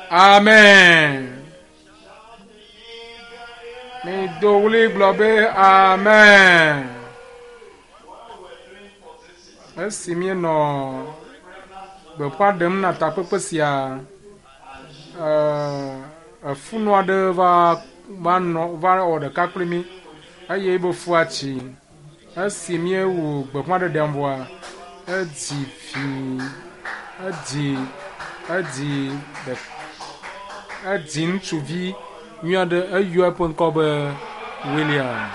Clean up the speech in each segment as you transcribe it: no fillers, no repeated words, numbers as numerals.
Amen. Mido ɣli gblɔ be amen. Esi míenɔ gbeƒã ɖem na takpekpe sia, efunu aɖe va va nɔ va wɔ ɖeka kpli mí eye ebe fua tsi. Esi míewu gbeƒãɖeɖea vɔa, edzi vi edzi edzi ɖe edzi ŋutsuvi nyui aɖe eyɔ eƒe ŋkɔ be William.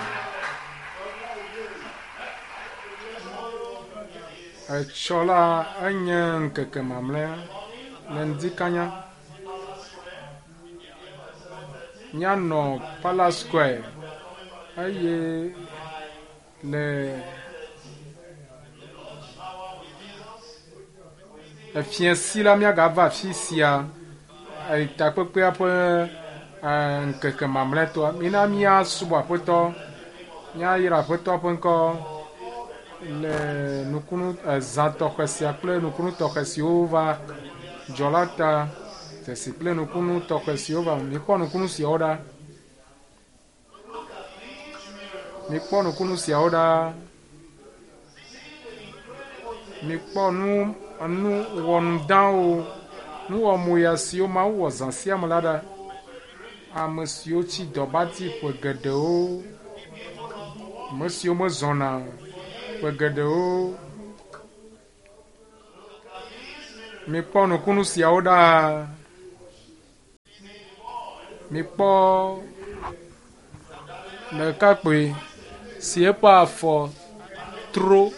Etsɔ la enye ŋkeke mamlɛa le ŋdi kanya. Míanɔ Palace Square eye le efiẽsi la míagava afi sia takpekpea ƒe ŋkeke mamlɛtɔa. Mina míasubɔ Aƒetɔ, míayra Aƒetɔ ƒe ŋkɔ le nukunu ezã tɔxɛ sia kple nukunu tɔxɛ siwo va dzɔ la ta. Dzesi kple nukunu tɔxɛ siwo va. Mikpɔ nukunu siawo ɖa. Mikpɔ nukunu siawo ɖa. Mikpɔ nu nu wɔnudawo, nu wɔmoya siwo Mawu wɔ zã sia me la ɖa. Ame siwo tsi dɔbati ƒe geɖewo, ame siwo mezɔna ƒe geɖewo. Mikpɔ nukunu siawo ɖa. Mikpɔ ɖekakpui si eƒe afɔ tro.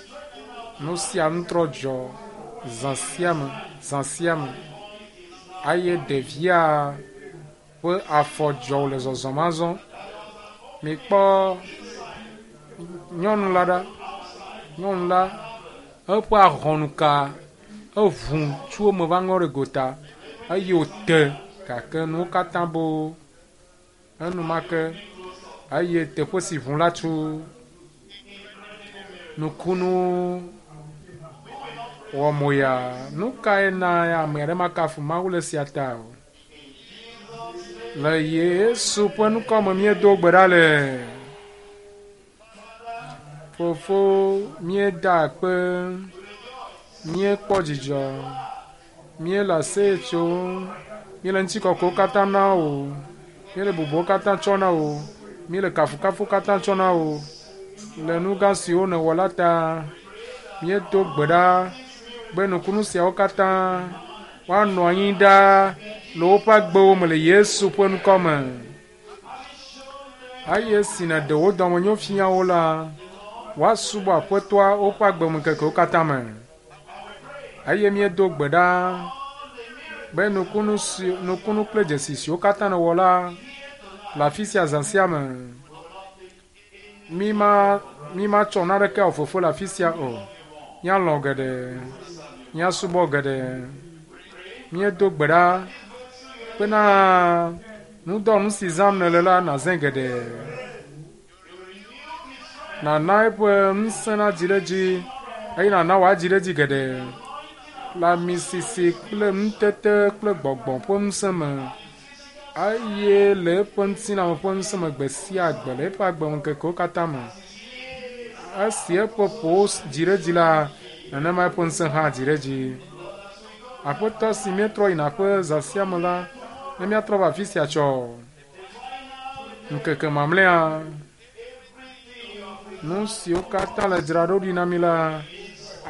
Nu sia nu trɔ dzɔ zã sia me zã sia me eye ɖevia ƒe afɔ dzɔ wòle zɔzɔm azɔ. Mikpɔ nyɔnu la ɖa. Nyɔnu la eƒe ahɔnuka eŋu tso eme va ŋɔ ɖe gota eye wòte gake nuwo katã bo enumake eye teƒe si ŋu la tso nukunu wɔ moya. Nu kae na ame aɖe makafu Mawu le esia ta o? Le Yesu ƒe ŋkɔ me míedo gbe ɖa le. Fofo, míeda akpe, míekpɔ dzidzɔ, míele aseye tsom, míele ŋutikɔkɔewo katã na wò, míele bubuwo katã tsɔ na wò, míele kafukafu katã tsɔ na wò le nu gã siwo nèwɔ la ta. Míedo gbe ɖa be nukunu siawo katã woanɔ anyi ɖaa le woƒe agbewo me le Yesu ƒe ŋkɔ me. Eye esi nèɖe wò dɔmenyo fia wo la, woasubɔ Aƒetɔa woƒe agbemeŋkekewo katã me. Eye míedo gbe ɖa be nukunu si nukunu kple dzesi siwo katã nèwɔ la le afi sia zã sia me. Míma mímatsɔ naneke awɔ fofo le afi sia o. Míalɔ̃ geɖe, míasubɔ geɖe. Míedo gbe ɖa bena nudɔnu si zãm nèle la nàzãe geɖe. Nàna eƒe ŋusẽ nadzi ɖe edzi eye nàna wòadzi ɖe edzi geɖe le amisisi kple nutete kple gbɔgbɔ ƒe ŋusẽ me eye le eƒe ŋutilãme ƒe ŋusẽ me gbe sia gbe le eƒe agbemeŋkekewo katã me. Esi eƒe ƒowo dzi ɖe edzi la, nenema eƒe ŋusẽ hã dzi ɖe edzi. Aƒetɔ si míetrɔ yina aƒe zã sia me la, ne míatrɔ va afi sia tsɔ ŋkeke mamlɛa, nu siwo katã le dzraɖo ɖi na mí la,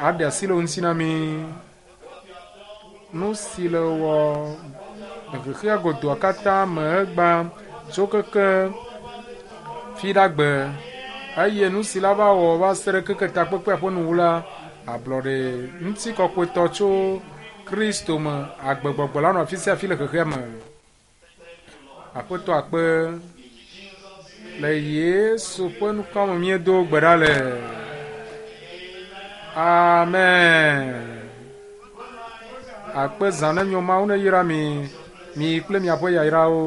aɖe asi le wo ŋuti na mí. Nu si le wɔ le xexea godoa katã me egbea tso keke fiɖagbe eye nu si la va wɔ va se ɖe keke takpekpea ƒe nuwu la, ablɔɖe ŋutikɔkɔetɔ tso Kristo me agbegbɔgbɔ la nɔ afi sia afi le xexea me. Aƒetɔ akpe le Yesu ƒe ŋkɔ me míedo gbe ɖa le. Amen. Akpe zã ne nyo Mawu neyra mi, mi kple miaƒe yayrawo.